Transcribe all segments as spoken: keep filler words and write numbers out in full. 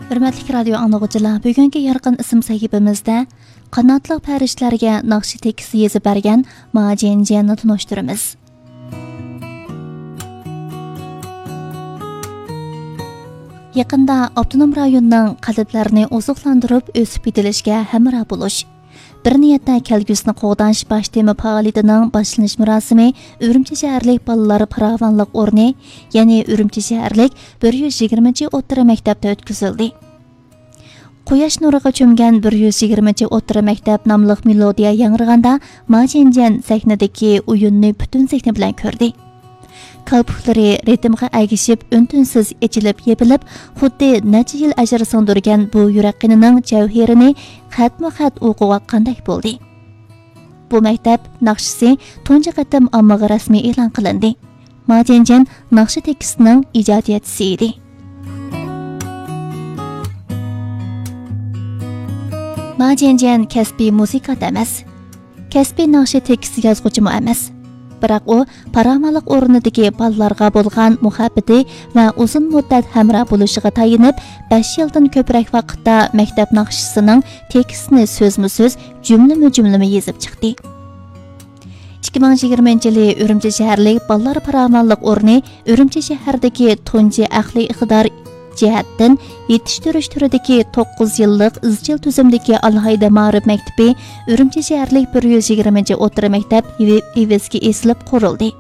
ھۆرمەتلىك رادىيو ئاڭلىغۇچىلار، بۈگۈنكى يارقىن ئىسىم سەھىپىمىزدە قاناتلىق پەرىشتىلەرگە ناخشا تېكىستى يېزىپ بەرگەن ما جيەنجيەننى تونۇشتۇرىمىز. يېقىندا ئاپتونوم رايوننىڭ قەلبلەرنى ئوزۇقلاندۇرۇپ ئۆسۈپ يېتىلىشىگە ھەمراھ بولۇش، بىر نىيەتتە كەلگۈسىنى قوغداش باش تېما پائالىيىتىنىڭ باشلىنىش مۇراسىمى ئۈرۈمچى شەھەرلىك بالىلار پاراۋانلىق ئورنى، يەنى ئۈرۈمچى شەھەرلىك بىر يۈز يىگىرمىنچى ئوتتۇرا مەكتەپتە ئۆتكۈزۈلدى. قۇياش نۇرىغا چۆمگەن بىر يۈز يىگىرمىنچى ئوتتۇرا مەكتەپ ناملىق مېلودىيە ياڭرىغاندا، ما جيەنجيەن سەھنىدىكى ئويۇننى پۈتۈن زېھنى بىلەن كۆردى. كالپۇكلىرى رىتىمغا ئەگىشىپ ئۈن-تىنسىز ئېچىلىپ-يېپىلىپ، خۇددى نەچچە يىل ئەجىر سىڭدۈرگەن بۇ يۈرەك قېنىنىڭ جەۋھىرىنى خەتمۇ-خەت ئوقۇۋاتقاندەك بولدى. بۇ مەكتەپ ناخشىسى تۇنجى قېتىم ئاممىغا رەسمىي ئېلان قىلىندى. ما جيەنجيەن ناخشا تېكىستىنىڭ ئىجادىيەتچىسى ئىدى. ما جيەنجيەن كەسپىي مۇزىكانت ئەمەس. كەسپىي ناخشا تېكىست يازغۇچىمۇ ئەمەس. بىراق ئۇ پاراۋانلىق ئورنىدىكى بالىلارغا بولغان مۇھەببىتى ۋە ئۇزۇن مۇددەت ھەمراھ بولۇشىغا تايىنىپ، بەش يىلدىن كۆپرەك ۋاقىتتا مەكتەپ ناخشىسىنىڭ تېكىستىنى سۆزمۇ سۆز، جۈملىمۇ جۈملىمە يېزىپ چىقتى. ئىككى مىڭ يىگىرمىنچى يىلى ئۈرۈمچى شەھەرلىك بالىلار پاراۋانلىق ئورنى ئۈرۈمچى شەھەردىكى تۇنجى ئەقلىي ئىقتىدار جەھەتتىن يېتىشتۈرۈش تۈرىدىكى توققۇز يىللىق ئىزچىل تۈزۈمدىكى ئالاھىدە مائارىپ مەكتىپى ئۈرۈمچى شەھەرلىك بىر يۈز يىگىرمىنچى ئوتتۇرا مەكتەپ ئىۋ-، ئېۋىسىگە ئېسىلىپ قۇرۇلدى.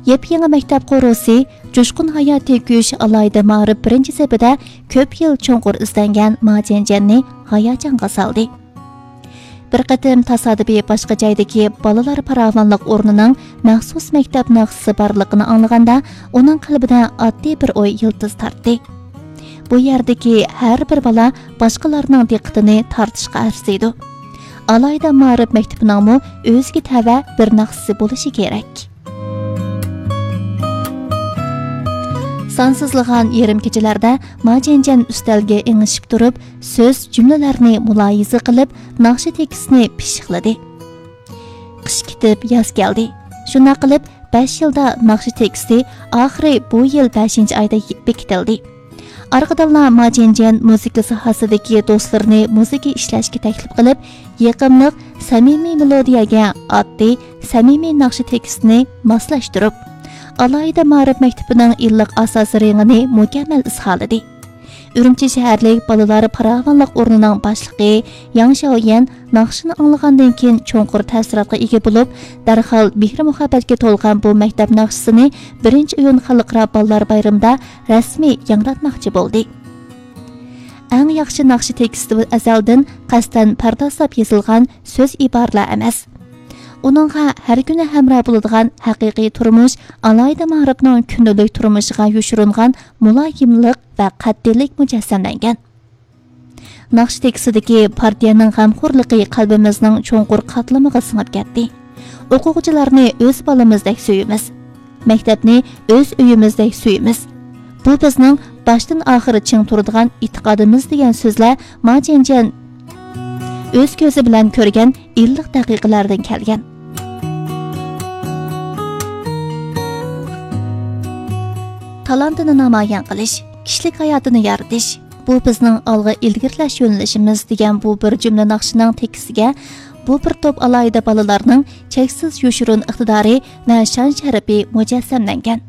يېپيېڭى مەكتەپ قورۇسى، جۇشقۇن ھاياتىي كۈچ ئالاھىدە مائارىپ بىرىنچى سېپىدە كۆپ يىل چوڭقۇر ئىزدەنگەن ما جيەنجيەننى ھاياجانغا سالدى. بىر قېتىم تاسادىپىي باشقا جايدىكى بالىلار پاراۋانلىق ئورنىنىڭ مەخسۇس مەكتەپ ناخشىسى بارلىقىنى ئاڭلىغاندا، ئۇنىڭ قەلبىدە ئاددىي بىر ئوي يىلتىز تارتتى. بۇ يەردىكى ھەر بىر بالا باشقىلارنىڭ دىققىتىنى تارتىشقا ئەرزىيدۇ. ئالاھىدە مائارىپ مەكتىپىنىڭمۇ ئۆزىگە تەۋە بىر ناخشىسى بولۇشى كېرەك. سانسىزلىغان يېرىم كېچىلەردە ما جيەنجيەن ئۈستەلگە ئېڭىشىپ تۇرۇپ، سۆز، جۈملىلەرنى مۇلاھىزە قىلىپ، ناخشا تېكىستىنى پىششىقلىدى. قىش كېتىپ، ياز كەلدى. شۇنداق قىلىپ، بەش يىلدا ناخشا تېكىستى ئاخىرى بۇ يىل بەشىنچى ئايدا بېكىتىلدى. ئارقىدىنلا ما جيەنجيەن مۇزىكا ساھەسىدىكى دوستلىرىنى مۇزىكا ئىشلەشكە تەكلىپ قىلىپ، يېقىملىق، سەمىمىي مېلودىيەگە ئاددىي، سەمىمىي ناخشا تېكىستىنى ماسلاشتۇرۇپ، ئالاھىدە مائارىپ مەكتىپىنىڭ ئىللىق ئاساسىي رېڭىنى مۇكەممەل ئىزھارلىدى. ئۈرۈمچى شەھەرلىك بالىلار پاراۋانلىق ئورنىنىڭ باشلىقى ياڭ شياۋيەن ناخشىنى ئاڭلىغاندىن كېيىن چوڭقۇر تەسىراتقا ئىگە بولۇپ، دەرھال مېھىر-مۇھەببەتكە تولغان بۇ مەكتەپ ناخشىسىنى بىرىنچى ئىيۇن خەلقئارا بالىلار بايرىمىدا رەسمىي ياڭراتماقچى بولدى. ئەڭ ياخشى ناخشا تېكىستى ئەزەلدىن قەستەن پەردازلاپ يېزىلغان سۆز ئىبارىلەر ئەمەس. ئۇنىڭغا ھەر كۈنى ھەمراھ بولىدىغان ھەقىقىي تۇرمۇش، ئالاھىدە مائارىپنىڭ كۈندىلىك تۇرمۇشىغا يوشۇرۇنغان مۇلايىملىق ۋە قەتئىيلىك مۇجەسسەملەنگەن. ناخشا تېكىستىدىكى پارتىيەنىڭ غەمخورلۇقى قەلبىمىزنىڭ چوڭقۇر قاتلىمىغا سىڭىپ كەتتى. ئوقۇغۇچىلارنى ئۆز بالىمىزدەك سۆيىمىز. مەكتەپنى ئۆز ئۆيىمىزدەك سۆيىمىز. بۇ بىزنىڭ باشتىن ئاخىر چىڭ تۇرىدىغان ئېتىقادىمىز، دېگەن سۆزلەر ما جيەنجيەن ئۆز كۆزى بىلەن كۆرگەن ئىللىق دەقىقىلەردىن كەلگەن. تالانتىنى نامايان قىلىش، كىشىلىك ھاياتىنى يارىتىش، بۇ بىزنىڭ ئالغا ئىلگىرىلەش يۆنىلىشىمىز، دېگەن بۇ بىر جۈملە ناخشىنىڭ تېكىستىگە بۇ بىر توپ ئالاھىدە بالىلارنىڭ چەكسىز يوشۇرۇن ئىقتىدارى ۋە شان-شەرىپى مۇجەسسەملەنگەن.